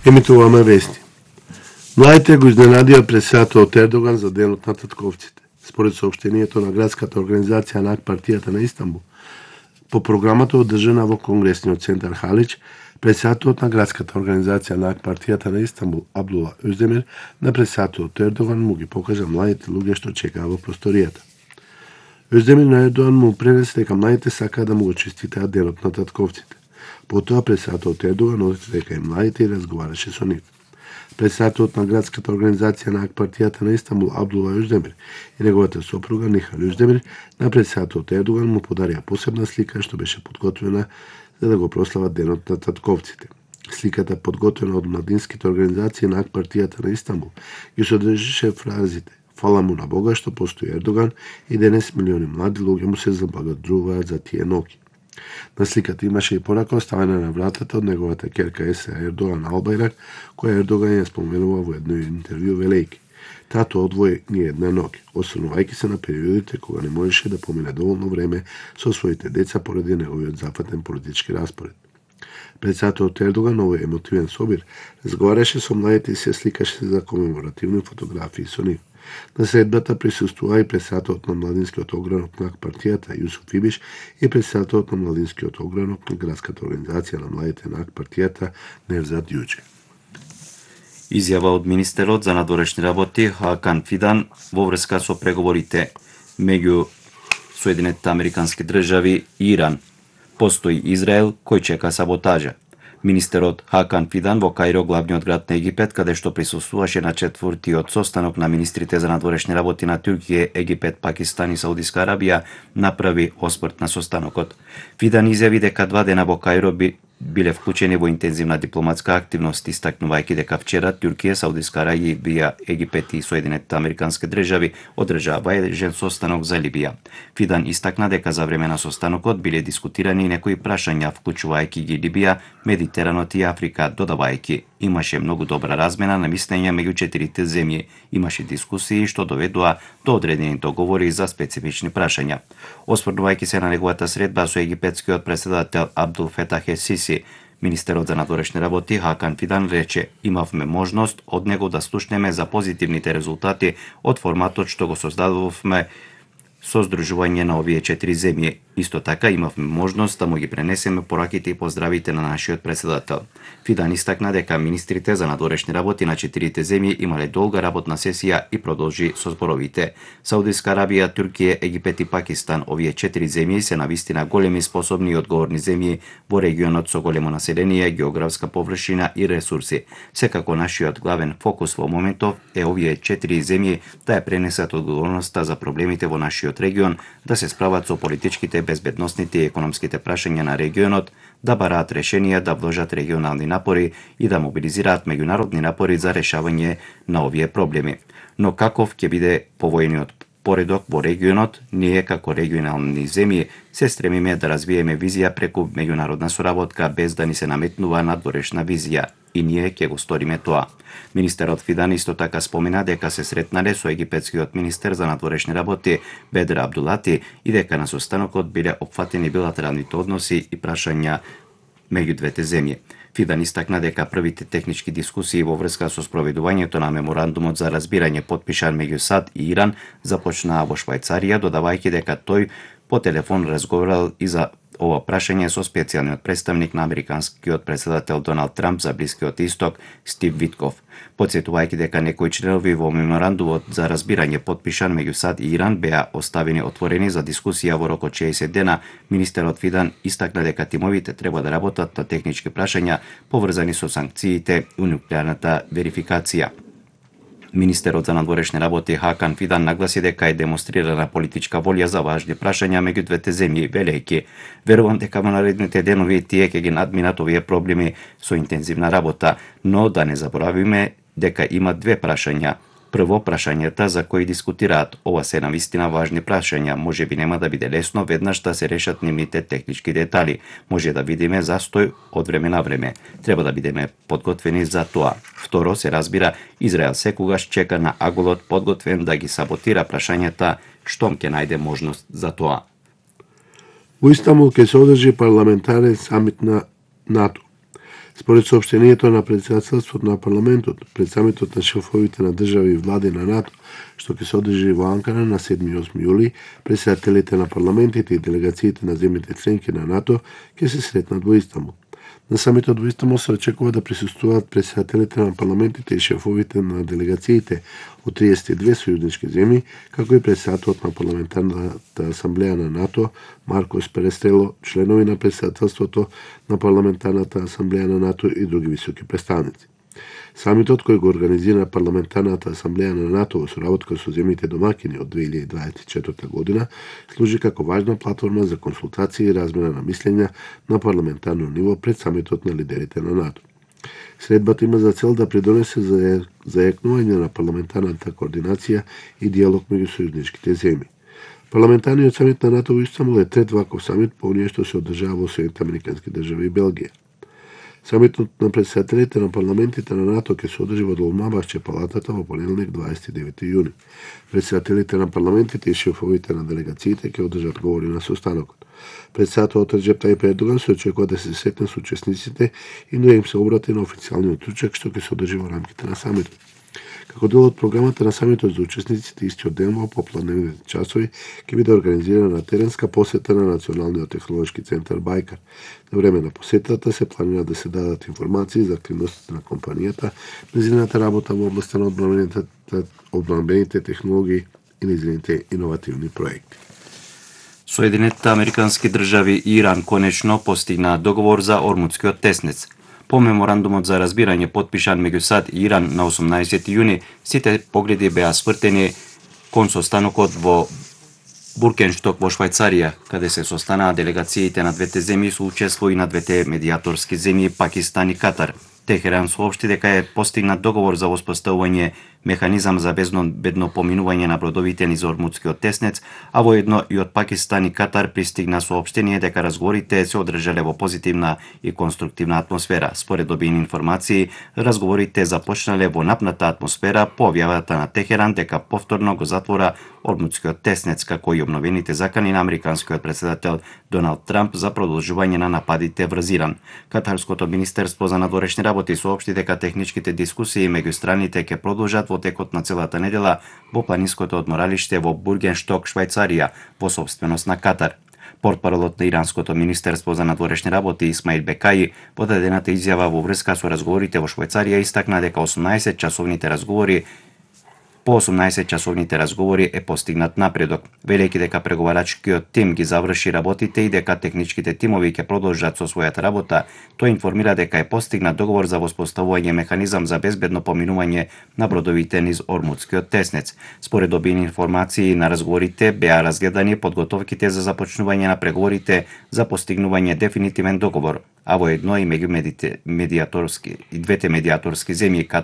Емитуваме вести. Младите го изненадија председателот Ердоган за денот на татковците. Според соопштението на градската организација на партијата на Истанбул, по програмата одржана во Конгресниот центар Халич, председателот на градската организација на партијата на Истанбул, Абдула Özdemir, на председателот Ердоган му ги покажа младите луѓе што чекаа во просторијата. Özdemir на Ердоган му пренесе дека младите сакаа да му го честитаат денот на татковците. Потоа председателот Ердоган оди дека и младите и разговараше со нив. Председателот на градската организација на партијата на Истанбул, Абдула Özdemir, и неговата сопруга Нихал Özdemir, на председателот Ердоган му подарија посебна слика што беше подготвена за да го прослават денот на татковците. Сликата, подготвена од младинските организации на партијата на Истанбул, ги содржеше фразите "Фала му на Бога што постои Ердоган" и денес милиони млади луѓе му се заблагодаруваат за тие ноќи. На сликата имаше и порака оставена на вратата од неговата ќерка Еса Ердоган Албајрак, која Ердоган ја споменува во едно интервју велејки: "Тато одвои ни една ноќ", осврнувајќи се на периодите кога не можеше да помине доволно време со своите деца поради неговиот зафатен политички распоред. Председателот Ердоган, овој емотивен собир, разговараше со младите и се сликаше за комеморативни фотографии со нив. На средбата присуствува и председателот на младинскиот огранок на партијата Јусуф Ибиш и председателот на младинскиот огранок на градската организација на младите на партијата Невзат Јуџе. Изјава од министерот за надворешни работи Хакан Фидан во врска со преговорите меѓу Соединетите Американски држави и Иран. Постои Израел кој чека саботажа. Министерот Хакан Фидан во Каиро, главниот град на Египет, каде што присуствуваше на четвртиот состанок на министрите за надворешни работи на Туркија, Египет, Пакистан и Саудиска Арабија, направи осврт на состанокот. Фидан изјави дека 2 дена во Каиро биле вклучени во интензивна дипломатска активност, истакнувајќи дека вчера Туркија, Саудиска Арабија, Египет и Соединетите Американски држави одржаа важен состанок за Либија. Фидан истакна дека за време на состанокот биле дискутирани некои прашања, вклучувајќи ги Либија, Медитеранот и Африка, додавајќи: "Имаше многу добра размена на мислења меѓу четирите земји, имаше дискусии што доведоа до одредени договори за специфични прашања." Осврнувајќи се на неговата средба со египетскиот претседател Абдул Фетах ел-Сиси, министерот за надворешни работи Хакан Фидан рече: "Имавме можност од него да слушнеме за позитивните резултати од форматот што го создадовме со здружување на овие 4 земји. Исто така имавме можност да му ги пренесеме пораките и поздравите на нашиот претседател." Фидан истакна дека министрите за надворешни работи на 4 земји имале долга работна сесија и продолжи со зборовите. Саудиска Арабија, Туркија, Египет и Пакистан, овие 4 земји се навистина големи, способни и одговорни земји во регионот со големо население, географска површина и ресурси. Секако нашиот главен фокус во моментов е овие 4 земји да ја пренесат одговорноста за проблемите во нашиот регион, да се справат со политичките, безбедносните и економските прашања на регионот, да бараат решенија, да вложат регионални напори и да мобилизираат меѓународни напори за решавање на овие проблеми. Но каков ќе биде повојниот поредок во регионот, ние како регионални земји се стремиме да развиеме визија преку меѓународна соработка без да ни се наметнува надворешна визија, и ние ќе го сториме тоа. Министерот Фидан исто така спомена дека се сретнале со египетскиот министер за надворешни работи Бедр Абдулати и дека на состанокот биле опфатени билатералните односи и прашања меѓу двете земји. Фидан истакна дека првите технички дискусии во врска со спроведувањето на меморандумот за разбирање подпишан меѓу САД и Иран започнаа во Швајцарија, додавајќи дека тој по телефон разговарал и за ова прашање со специјалниот представник на американскиот претседател Доналд Трамп за Блискиот Исток Стив Витков. Потсетувајќи дека некои членови во меморандумот за разбирање подпишан меѓу САД и Иран беа оставени отворени за дискусија во рок од 60 дена, министерот Фидан истакна дека тимовите треба да работат на технички прашања поврзани со санкциите и нуклеарната верификација. Министерот за надворешни работи Хакан Фидан нагласи дека е демонстрирана политичка волја за важни прашања меѓу двете земји, велејќи: "Верувам дека во наредните денови тие ќе ги надминат овие проблеми со интензивна работа, но да не заборавиме дека има две прашања. Прво, прашањата за кои дискутираат. Ова се навистина важни прашања. Може би нема да биде лесно веднаш да се решат нивните технички детали. Може да видиме застој од време на време. Треба да бидеме подготвени за тоа. Второ, се разбира, Израел секогаш чека на аголот подготвен да ги саботира прашањата штом ќе најде можност за тоа." Во Истанбул ќе се одржи парламентарен самит на НАТО. Според соопштението на председателството на парламентот, пред самитот на шефовите на држави и влади на НАТО, што ќе се одржи во Анкара на 7 и 8 јули, председателите на парламентите и делегациите на земјите членки на НАТО ќе се сретнат во Истанбул. На самитот во Истанбул се очекува да присуствуваат председателите на парламентите и шефовите на делегациите од 32 сојузнички земји, како и председателот на парламентарната асамблеја на НАТО Маркос Перестрело, членови на председателството на парламентарната асамблеја на НАТО и други високи представници. Самитот кој го организира парламентарната асамблеја на НАТО во соработка со земјите домакини од 2024 година служи како важна платформа за консултации и размена на мислења на парламентарно ниво пред самитот на лидерите на НАТО. Средбата има за цел да придонесе за зајакнување на парламентарната координација и диалог меѓу сојузничките земји. Парламентарниот самит на НАТО во Истанбул е трет ваков самит по оние што се одржава во Соединетите американски држави и Белгија. Самитот на председателите на парламентите на НАТО ќе се одржи во Долмабашче палатата во понеделник 29 јуни. Председателите на парламентите и шефовите на делегациите ќе одржат говори на состанокот. Председателот Реджеп Тајип Ердоган се очекува да се сретне со учесниците и да им се обрати на официјалниот ручек што ќе се одржи во рамките на самитот. Како дел од програмата на самитот за учесниците истиот ден во попладневните часови ќе биде организирана теренска посета на Националниот технолошки центар Бајкар. На време на посетата се планира да се дадат информации за активностите на компанијата, незината работа во областа на одбранбените технологии и незините иновативни проекти. Соединетите американски држави и Иран конечно постигнаа договор за Ормудскиот теснец. По меморандумот за разбирање потпишан меѓу САД и Иран на 18 јуни, сите погледи беа свртени кон состанокот во Буркеншток во Швајцарија, каде се состанаа делегациите на двете земји со учество и на двете медиаторски земји Пакистан и Катар. Техеран соопшти дека е постигнат договор за воспоставување механизам за безбедно поминување на бродовите низ Ормудскиот теснец, а воедно и од Пакистан и Катар пристигна соопштение дека разговорите се одржале во позитивна и конструктивна атмосфера. Според добиени информации, разговорите започнале во напната атмосфера по објавата на Техеран дека повторно го затвора Ормудскиот теснец, како и обновените закани на американскиот председател Доналд Трамп за продолжување на нападите врз Иран. Катарското министерство за надворешни работи соопшти дека техничките дискусии меѓу страните ќе продолжат во текот на целата недела во планинското одморалиште во Бургеншток, Швајцарија, во собственост на Катар. Портпаролот на Иранското министерство за надворешни работи Исмаил Бекаи во дадената изјава во врска со разговорите во Швајцарија истакна дека 18-часовните разговори е постигнат напредок, велејќи дека преговарачкиот тим ги заврши работите и дека техничките тимови ќе продолжат со својата работа. Тој информира дека е постигнат договор за воспоставување механизам за безбедно поминување на бродовите низ Ормудскиот теснец. Според добиени информации на разговорите беа разгледани подготовките за започнување на преговорите за постигнување дефинитивен договор, а воедно и меѓу двете медиаторски земји